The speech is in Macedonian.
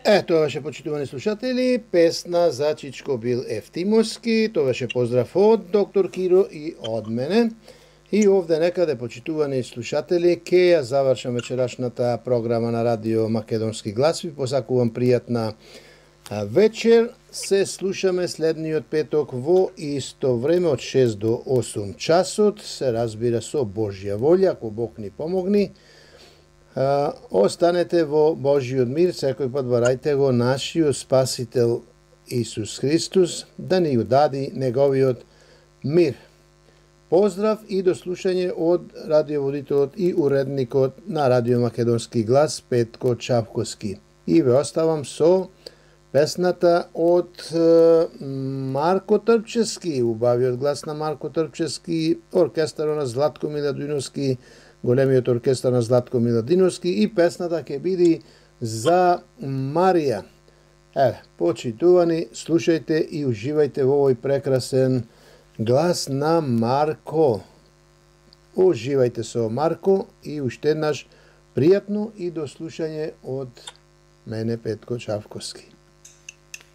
Тоа беше, почитувани слушатели, песна за Чичко Бил Ефтимовски. Тоа беше поздрав од доктор Киро и од мене. И овде некаде, почитувани слушатели, ке ја завршам вечерашната програма на Радио Македонски глас. Ви посакувам пријатна вечер. Се слушаме следниот петок во исто време од 6 до 8 часот. Се разбира со Божја волја, ако Бог ни помогни. Останете во Божиот мир, секој пат барајте го нашиот Спасител Исус Христос, да ни удади неговиот мир. Поздрав и до слушање од радиоводителот и уредникот на Радио Македонски глас Петко Чавковски. И ве оставам со песната од Марко Трпчевски, убавиот глас на Марко Трпчевски, оркестарот на Златко Миладиновски, големиот оркестар на Златко Миладиновски, и песната ќе биде за Марија. Почитувани, слушајте и уживајте во овој прекрасен глас на Марко. Уживајте со Марко и уште еднаш пријатно и до слушање од мене Петко Чавковски.